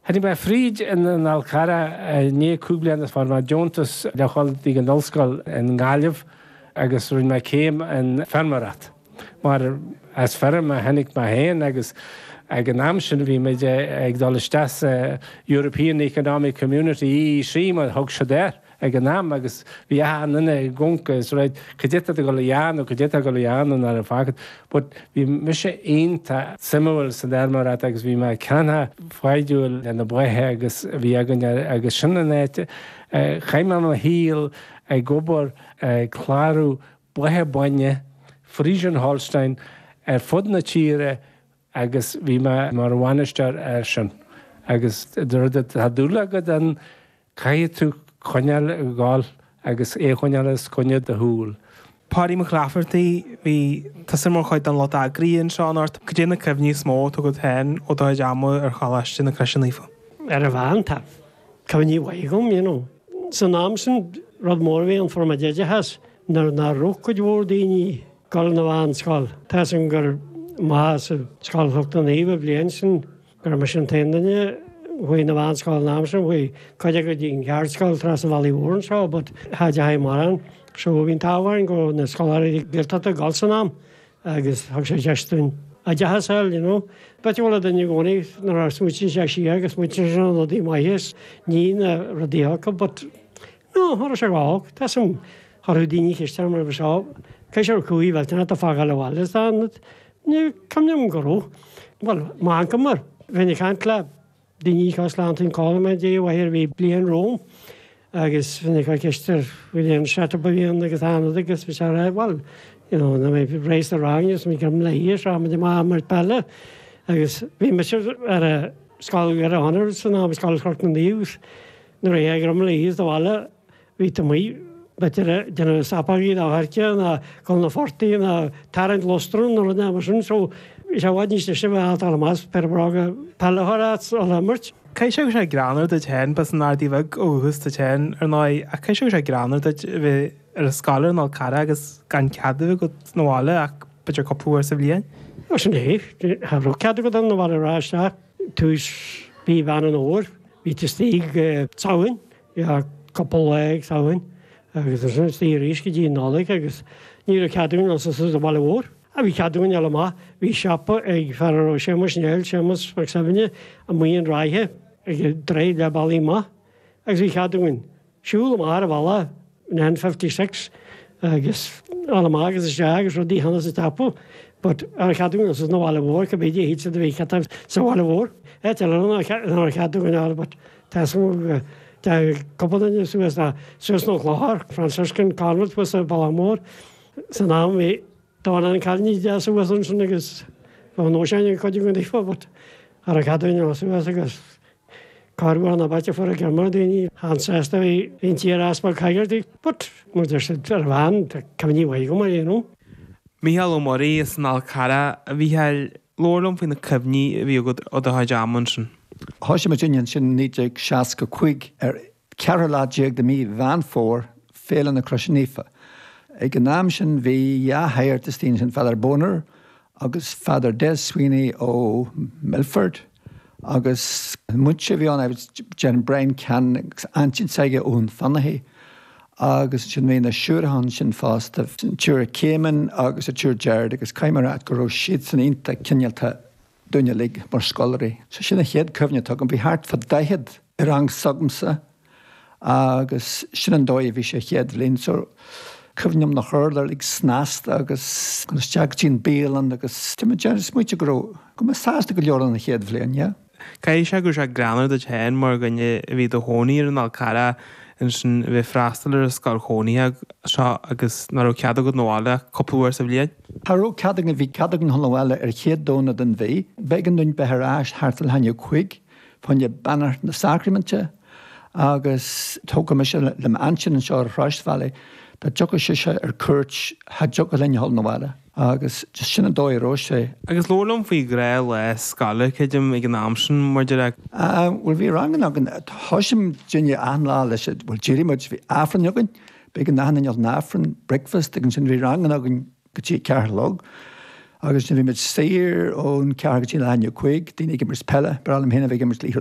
Tháinig mé fríd an Fhál Carrach i ndiaidh 5 bliana is fuair mé deontas le dhul dtí an ollscoil i nGaillimh agus rinne mé céim in feirmeoireacht mar as feirm a tháinig mé féin agus ag an am sin bhí muid ag dul isteach sa European Economic Community, EEC mar a thug siad air. ag an am agus bhí achan duine ag amharc is right cad é atá tú ag dul a dhéanamh, cad é atá ag dul a dhéanamh nuair a fágfaidh but bhí mise iontach suimiúil san fheirmeoireacht agus bhí mé ceanntach foighdiúil le na ba agus a bhí againn agus sin an áit a chaith mé mo shaol ag obair ag clárú ba bainne Friesian Holstein ar fud na tíre agus bhí mé mar bhainisteoir air sin agus rud atá dúil agat ann Caithfidh tú coinneáil ag gabháil agus é a choinneáil os coinne do shúl. Páidí Mac Laifeartaigh, bhí tusa mar chuid den lucht eagraithe anseo anocht. Cad é na cuimhní is mó atá agat féin ó do chuid ama ar Choláiste na Croise Naofa? Ar an mheán, tá cuimhní mhaith agam, you know. San am sin, rud mór a bhí ann, fuair muid oideachas nuair nach raibh cuid mhór daoine ag dul na mheánscoil. Tá 'fhios agam gur amach as Scoil Chnoc na Naomh an bhliain sin Go raibh mise an t-aon duine a chuaigh na mheánscoil an am sin, chuaigh cuid acu go dtí an cheardscoil trasna an Bhealaigh Mhór anseo but cha dteachaigh mórán. So bhí an t-ádh orainn go raibh na scoláirí Gaeltachta ag dul san am agus thug sé deis dúinn oideachas a fháil, you know. B'fhéidir go bhfuil duine i gcónaí nuair a smaoitíonn sé siar go smaoitíonn sé ar na rudaí maithe is ní na rudaí acu but no, cha raibh sé ró-olc. Tá 'fhios a'm, chuirfeadh daoine ceist orm roimhe seo, cé sé raibh cumhaidh mhillteanach ag fágáil abhaile is dá Ní cuimhin liom go raibh. Bhuel, m'uncail, bheinn ag caint le daoine cosúil le Antoin Coleman, Dia a mháthair, a bhí bliain romham agus bheinn ag cur ceist air faoi an setup a bhí ann agus an rud agus bhí sé ag rá, bhuel, you know, nuair a bhí race sa rang agus muid greim le haois, rachaidh muid amach imirt peile agus bhí mise ar a scoil Dhoire Chonaire san am, Scoil Chnoc na Naomh, nuair a bhí greim le haois sa bhaile Bhí tú amuigh, b'fhéidir, ag déanamh sapógaí nó choirce nó dul na phortaigh nó tarraingt lustrum nó rud mar sin so bhí sé i bhfad níos deise a bheith ag dul amach is péire bróga peile a chur ort is dul a imirt. Caithfidh sé go raibh sé greannmhar duit féin, b'as an Ardaidh Bheag ó dhúchas duit féin, ar ndóigh, ach caithfidh sé go raibh sé greannmhar duit a bheith ar an scoil ar an Fhál Carrach agus gan cead a bheith agat 'na bhaile ach b'fhéidir cúpla uair sa bhliain. Ó sin é, cha raibh cead agat dul 'na bhaile a rá isteach tús mhí Mheán an Fhómhair, bhí tú istigh go Samhain. Bhí cúpla lá ag Samhain agus ansin istigh arís go dtí an Nollaig agus ní raibh cead againn dul suas an bhaile mhór. Ach bhí cead againn dul amach. Bhí siopa ag fear a raibh Séamus Néill, Séamus Mac Suibhne, amuigh in Ráithe ag an droichead le bealaí amach agus bhí cead againn siúl amach ar an bhealach an N56 agus dul amach agus isteach agus rudaí a cheannach sa tsiopa but cha raibh cead againn dul suas na bhaile mhór cibé dé híd siad a bhí cead sa bhaile mhór. Áit eile nach raibh cead againn dul but Tá 'fhios agam go dteachaigh cúpla duine suas ná suas na Clochar, Franciscan Convent thuas sa Bhealach Mór. San am bhí dornán cailíní deasa thuas ansin agus bheadh nós againn ag cuid againn daofa but cha raibh cead againn dul suas agus corruair ná b'áit a fuair greim ar daoine an-sásta bhí an t-iar-easpag Hegarty but mar deir siad ar bhean tá cuimhní mhaith agam air you know. Mícheál Ó Muirí as an Fhál Carrach, a Mhícheáil, labhair liom faoi na cuimhní a bhí agat ó do chuid ama ansin. Thoisigh muidinne ansin i 1965 ar ceathrú lá déag de mí Mheán Fómhair, Féile na Croise Naofa. Ag an am sin bhí dhá shagart istigh ansin, Father Boner agus Father Des Sweeney ó Milford agus múinteoir a bhí ann, déarfainn Brian Cannon agus aintín s'aige ón Fionnachaidh agus ansin bhí na siúracha ansin fosta, an tSiúr Céimeann agus an tSiúr Gerard agus caithfidh mé a rá go raibh siadsan iontach cineálta dúinn uilig mar scoláirí. So sin an chéad cuimhne atá agam. Bhí thart fá 40 i rang s'agamsa agus sin an dóigh a bhí sé chéad bhliain. So cuimhním na hurláir uilig snasta agus dul isteach go dtí an bialann agus tá mé ag smaoitiú go raibh, go raibh mé sásta go leor an chéad bhliain, yeah. Caithfidh sé go raibh sé greannmhar duit féin mar dhuine a bhí i do chónaí ar an Fhál Carrach ansin a bheith ag freastal ar an scoil chónaithe seo agus nach raibh cead agat 'na bhaile ach cúpla uair sa bhliain. Cha raibh cead againn, bhí cead againn dhul abhaile ar chéad Domhnach den mhí. B'éigean dúinn bheith ar ais thart fá leath i ndiaidh a cúig fá choinne beannacht na sacraiminte agus tógtha mise le m'aintín anseo ar Shráid Dá dtiocfadh sise ar cuairt cha dtiocfadh linn a dhul 'na bhaile. Agus just sin an dóigh a raibh sé. Agus labhair liom faoi ghnáthlá scoile, creidim, ag an am sin, mar deir. Ah, bhuel bhí ranganna againn, thoisigh muidinne achan lá leis, bhuel d'éirigh muid, bhí Aifreann againn, b'éigean d'achan duine dul 'na Aifreann, breakfast, agus ansin bhí ranganna againn go dtí a ceathair a chlog. Agus ansin bhí muid saor ón ceathair go dtí leath i ndiaidh a cúig, daoine ag imirt peile, ba bhreá liom féin a bheith ag imirt liathróid.